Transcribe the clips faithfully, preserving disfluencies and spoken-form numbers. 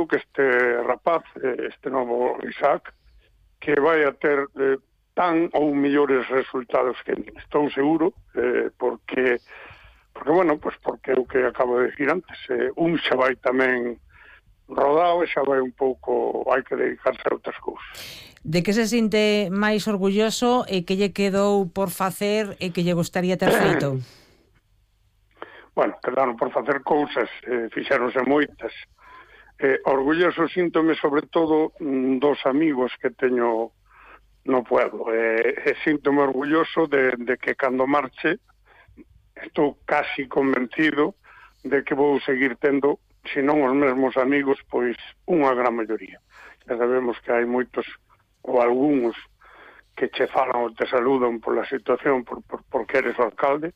seguro que este rapaz, este novo Isaac, que vai a ter eh, tan ou mellores resultados que min. Estou seguro, eh, porque, porque, bueno, pues porque é o que acabo de decir antes, eh, un xa vai tamén rodado e xa vai un pouco, hai que dedicarse a outras cousas. De que se sinte máis orgulloso e que lle quedou por facer e que lle gustaría ter feito? Bueno, quedaron por facer cousas, eh, fixeronse moitas. Eh, orgulloso síntome sobre todo dos amigos que teño no pueblo. Eh, e síntome orgulloso de, de que cando marche estou casi convencido de que vou seguir tendo, se non os mesmos amigos, pois unha gran maioría. Ya sabemos que hai moitos ou algúns que che falan ou te saludan pola situación por, por, porque eres o alcalde,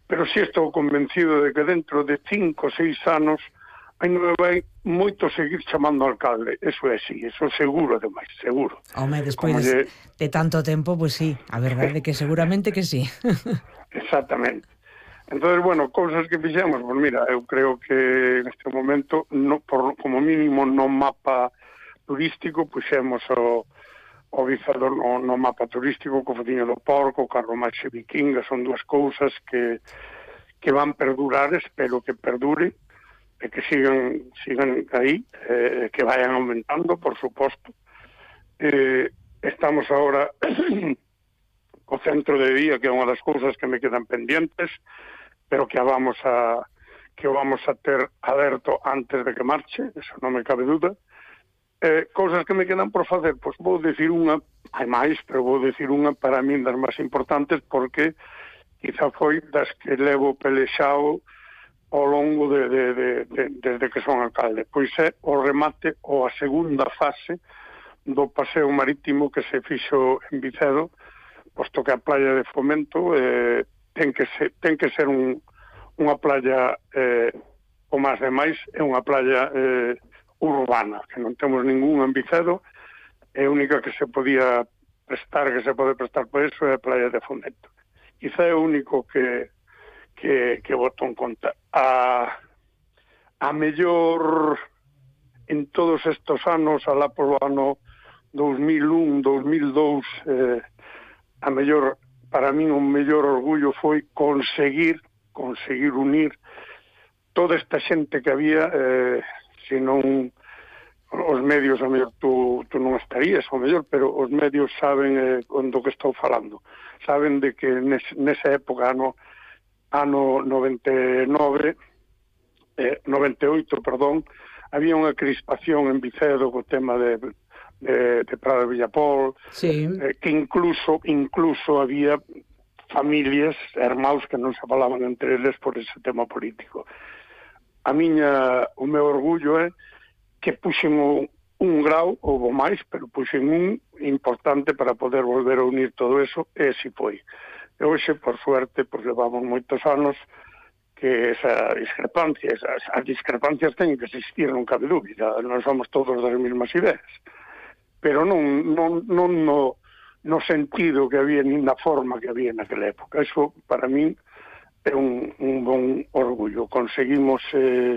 pero si estou convencido de que dentro de cinco ou seis anos aí non me vai moito seguir chamando alcalde. Eso é así, eso seguro, ademais, seguro. Home, despois lle... de tanto tempo, pois pues sí, a verdade que seguramente que sí. Exactamente. Entonces, bueno, cousas que fixemos, pues mira, eu creo que en este momento, no, por, como mínimo no mapa turístico, puxemos o, o Vicedo no, no mapa turístico, co Fodiño do Porco, o Carromaxe Vikinga, son dúas cousas que, que van perdurar, espero que perdure, e que sigan sigan aí, eh, que vayan aumentando, por suposto. Eh, estamos agora co centro de día, que é unha das cousas que me quedan pendientes, pero que a vamos a que o vamos a ter aberto antes de que marche, eso non me cabe duda. Eh, cousas que me quedan por facer, pois vou decir unha, hai máis, pero vou decir unha para min das máis importantes, porque quizá foi das que levo pelexao ao longo de, de, de, de, desde que son alcalde. Pois é o remate ou a segunda fase do paseo marítimo que se fixo en Vicedo, posto que a playa de Fomento eh, ten que ser, ten que ser un, unha playa eh, o máis de máis, é unha playa eh, urbana, que non temos ningún en Vicedo, é a única que se podía prestar, que se pode prestar por eso, é a playa de Fomento. Quizá é o único que que, que boto en conta. A, a mellor en todos estos anos, alá polo ano dos mil un, dos mil dous, eh, a mellor, para min o mellor orgullo foi conseguir, conseguir unir toda esta xente que había, eh, se non os medios, a mellor tú, tú non estarías, o mellor, pero os medios saben eh, do que estou falando. Saben de que nes, nesa época, ano ano noventa e nove, eh, noventa e oito, perdón, había unha crispación en Vicedo co tema de, de, de Prado de Villapol, sí. eh, que incluso incluso había familias, hermaus que non se falaban entre eles por ese tema político. A miña, o meu orgullo é que puxen un, un grau, houve máis, pero puxen un importante para poder volver a unir todo eso, e si foi. E hoxe, por suerte, pues, levamos moitos anos que esa discrepancia, esas, as discrepancias teñen que existir, non cabe dúbida, non somos todos das mesmas ideas, pero non, non, non no, no sentido que había, nin na forma que había naquela época. Eso, para min, é un, un bon orgullo. Conseguimos eh,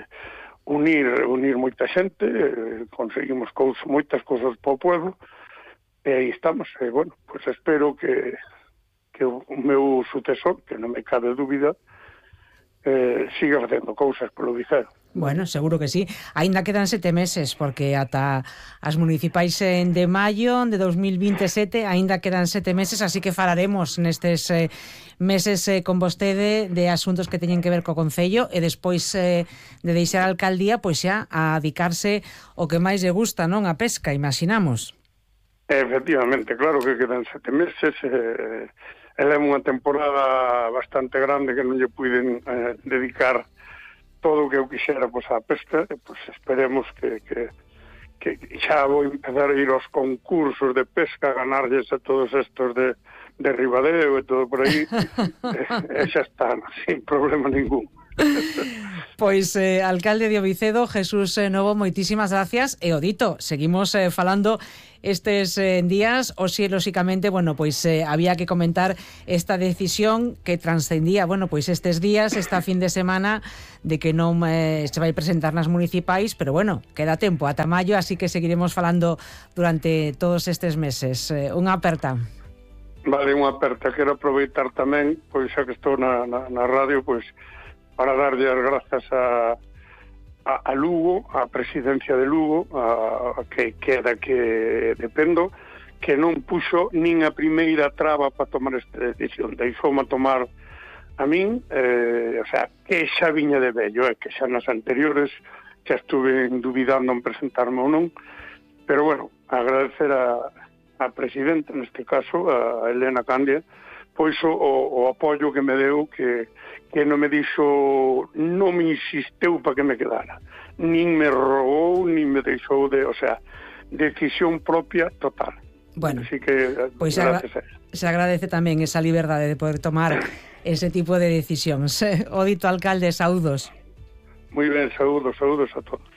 unir unir moita xente, eh, conseguimos cousas, moitas cousas para o pueblo, e aí estamos. E, bueno, pues espero que que o meu sucesor, que non me cabe dúbida, eh, siga facendo cousas polo Vicedo. Bueno, seguro que sí. Ainda quedan sete meses, porque ata as municipais en de maio de dos mil vinte e sete ainda quedan sete meses, así que falaremos nestes eh, meses eh, con vostede de asuntos que teñen que ver co Concello, e despois eh, de deixar a alcaldía, pois xa a dedicarse o que máis lle gusta, non? A pesca, imaginamos. Efectivamente, claro que quedan sete meses. Eh, ela é unha temporada bastante grande que non lle puiden eh, dedicar todo o que eu quixera, pois, á pesca, e pois esperemos que, que, que xa vou empezar a ir aos concursos de pesca, a ganarlles a todos estos de, de Ribadeo e todo por aí, e, e xa está, sin problema ningún. Pois, eh, alcalde de Ovicedo, Jesús eh, Novo, moitísimas gracias. E o dito, seguimos eh, falando estes eh, días, hoxe, lóxicamente, bueno, pois eh, había que comentar esta decisión que transcendía, bueno, pois estes días, esta fin de semana, de que non eh, se vai presentar nas municipais, pero bueno, queda tempo ata maio, así que seguiremos falando durante todos estes meses. Eh, unha aperta. Vale, unha aperta. Quero aproveitar tamén, pois xa que estou na, na, na radio, pois para darlle as grazas a, a, a Lugo, a presidencia de Lugo, a, a que queda que dependo, que non puxo nin a primeira traba para tomar esta decisión. Deixoume tomar a min, eh, o sea, que xa viña de vello, eh, que xa nas anteriores xa estuve duvidando en presentarme ou non, pero bueno, agradecer a, a presidenta, neste caso, a Elena Candia, pois o, o apoio que me deu, que, que non me dixo, non me insisteu para que me quedara, nin me rogou, nin me deixou de, o sea, decisión propia total. Bueno, así que pois pues se, se agradece tamén esa liberdade de poder tomar ese tipo de decisións. O dito, alcalde, saúdos. Moi ben, saúdos, saúdos a todos.